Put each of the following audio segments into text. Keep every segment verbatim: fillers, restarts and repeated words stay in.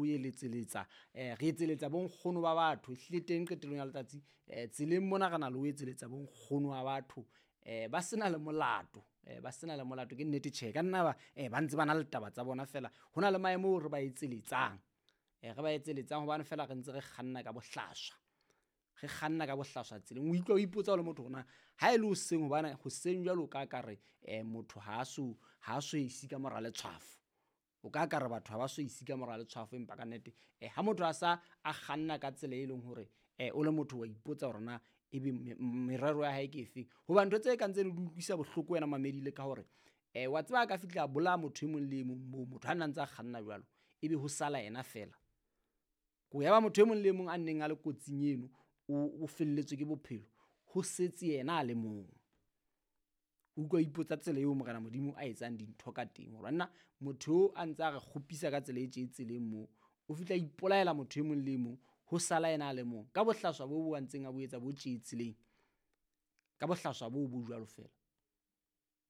ho eletseletsa um re etseletsa bonkgono ba batho ehlile teng qetellong ya letsatsi um tseleng mona re na le ho etseletsa bonkgono ba batho um ba sena le molato um ba sena le molato ke nnete tjhe ka nna ba um ba ntse ba na le taba tsa bona fela ho na le maemo oo re ba etseletsang um re ba etseletsang hobane fela re ntse re kganna ka bohlaswa re kganna ka bohlaswa tseleng o utlwa o ipotsa o le motho hore na ha e le hoseng hobane hoseng jwalo ka ka re um motho ha a so ha a so ise ka mora letshwafo o ka ka re batho ha ba so ise ka mora letshwafo empa ka nnete um ha motho a sa a kganna ka tsela e leng hore um o le motho wa ipotsa hore na ebe merero ya hae ke efeng hoba ntho tse kang tseno di utlwisa bohloko wena mamedile ka hore um wa tseba a ka fihla a bolaya motho e mong le e mong moo motho ha nna ntse a kganna jwalo ebe ho sala yena fela ko ya ba motho e mong le e mong a neng a le kotsing eno o felletswe ke bophelo ho setse yena a le mong o utlwa o ipotsa tsela eo morena modimo a etsang dintho ka teng hore nna motho o a ntse a re kgopisa ka tsela e tje tseleng moo o fihla ipolaela motho e mong le e mong ho sala yena a le mong ka bohlaswa bo bo a ntseng a bo etsa bo tje tseleng ka bohlaswa bo bo jwalo fela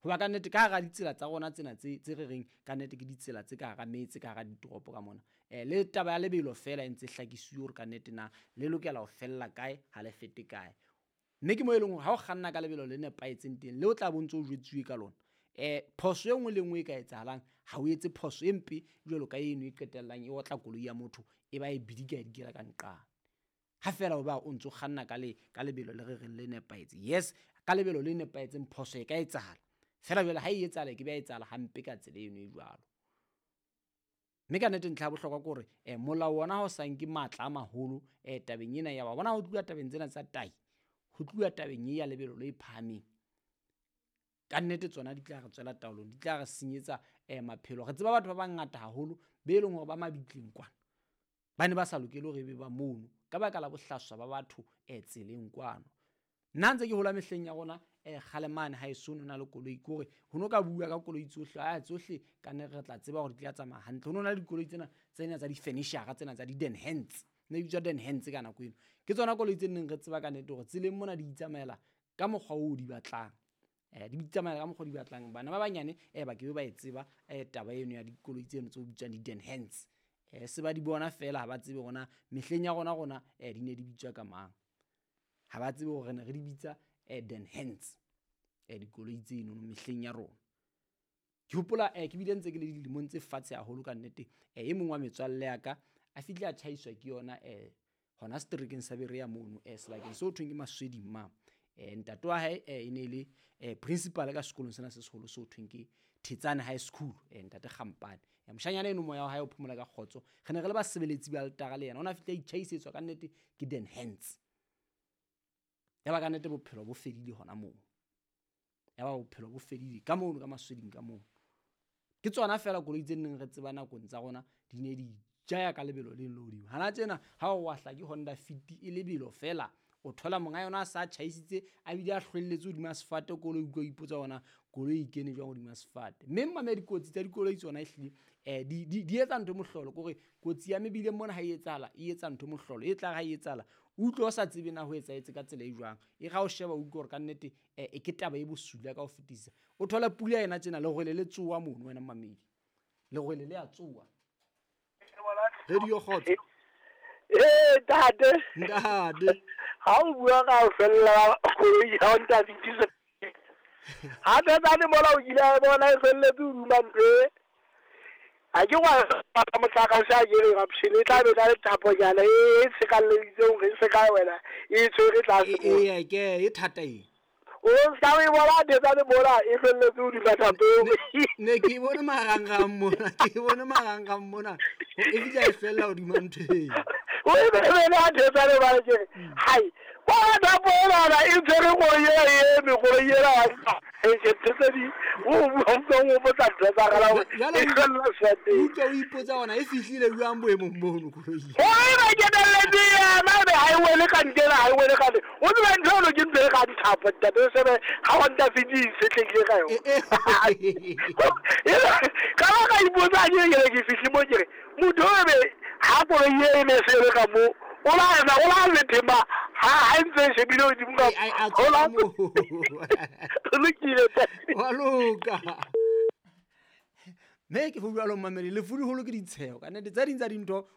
hoba ka nnete ka hara ditsela tsa rona tsena tse tse re reng ka nnete ke ditsela tse ka hara metse ka hara ditoropo ka mona um le taba ya lebelo fela e ntse hlakisiwe hore ka nnete na le lokela ho fella kae ha le fete kae mme ke mo e leng hore ha o kganna ka lebelo le nepahetseng teng le o tla bo ntse o jwetsuwe ka lona um phoso e nngwe le nngwe e ka etsahalang ha o etse phoso e mpe jwalo ka eno e qetellang e otla koloi ya motho e ba e bidika e dikela ka nqane ha fela o ba o ntso kganna ka le ka lebelo le re reng le nepahetse yes ka lebelo le nepahetseng phoso e ka etsahala fela jwale ha e etsahala e ke be ya etsahala hampe ka tsela eno e jwalo mme ka nnete ntlha ya bohlokwa ke hore um molao ona ha o sa nke matla a maholo um tabeng ena ya wa bona ho tluwa tabeng tsena tsa tahi ho tluwa tabeng e ya lebelo le phahameng ka nnete tsona di tla re tswela taolong di tla re senyetsa um maphelo re tseba batho ba bangata haholo be leng hore ba mabitleng kwana ba ne ba sa lokele hore ebe ba mono ka baka la bohlaswa ba batho um tseleng kwano nna ntse ke hola mehleng ya rona um kgale mane ha eso no na le koloi ke hore ho no ka bua ka koloi tsohle a tsohle ka nne re tla tseba hore di tla tsamaya hantle ho no na le dikoloi tsena tsena tsa di-furniture tsena tsa di-den hands ne di bitswa den hands ka nako eno ke tsona koloi tse neng re tseba ka nnete hore tseleng mona di itsamaela ka mokgwa oo di batlang um di itsamaela ka mokgwa o di batlang bana ba banyane um ba ke be ba e tseba um taba eno ya dikoloi tseno tse bitswang di-den hands um se ba di bona fela ha ba tsebe hore na mehleng ya rona rona um di ne di bitswa ka mang ha ba tsebe hore ne re di bitsa um den hands um dikoloi tseno mehleng ya rona ke hopola um ke bile ntse ke le dilemong tse fatshe haholo ka nnete um e mong wa metswalle ya ka a fihle a tjhaiswa ke yona um hona seterekeng sa Berea mono um sebakeng seo thweng ke Masweding ma um ntate wa hae um e ne le um principal ka sekolong sena se seholo seo thweng ke Thetsane High School um ntate Kgampane moshanyana eno moya wa hae o phomola ka kgotso re ne re le basebeletsi ba altara le yena o ne a fihle a itjhaisetswa ka nnete ke den hands ya ba ka nnete bophelo bo fedile hona moo ya ba bophelo bo fedile ka mono ka Masweding ka moo ke tsona fela koloi tse neng re tseba nakong tsa rona di ne di jaya ka lebelo le le hodimo hana tjena ha o wa hla ke Honda Fit e lebelo fela o thola monga yona a sa tjhaisitse a bile a hlwelletse hodima sefate koloi utlwa o ipotsa hona koloi e kene jwang hodima sefate mme mmame dikotsi tsa dikoloi tsona ehlile um di di di etsa ntho mohlolo ke hore kotsi ya mebileng mona ha e etsahala e etsa ntho mohlolo e tla ha e etsahala o utlwe o sa tsebe na ho etsahetse ka tsela e jwang e ga o sheba o utlwe hore ka nnete um e ke taba e bosula ka ho fetisisa o thola pula ena tjena lerwele le tsoha mono wena mmamedi lerwele le a tsoha radio kgotso ee ntate ntate ha o bua ka o fella koloi ya Honda Fit ha tsane mola o kile a bona e felletse hodima ntho e ha ke wa motlakase a kere eruption e tla be na le thaponyana e sekalleditseng hore e se ka wena e tshwere tlase ee ke e thata e o ska o e bona Thetsane mola e felletse hodima thapo ne ke bone marangrang mona ke bone marangrang mona e fihla e fella hodima ntho eo o e bele a Thetsane ba ke hai bona thapo ena e tshwere koloi ena e eme koloi ena e ke tsedi o o o botsa ntho tsa gala e fella sefateng utlwa o ipotsa hona e fihlile jwang boemong bono koloi o e ba kenelletse yena ebe ha e wele ka ntena ha e wele ka o tseba ntho eno ke ntho e ka dithapo ntate o shebe ha Honda Fit e itshetlehile ka yona ka ba ka ipotsa ke ke ke fihle mo ke re motho o ebe ha koloi e ne se le ka mo o la ena o la lethema ha ha ntse e shebile hodimo ka a o la lokile wa loka mme ke ho jwalo mmamedi lefu leholo ke ditsheho ka nnete tse ding tsa dintho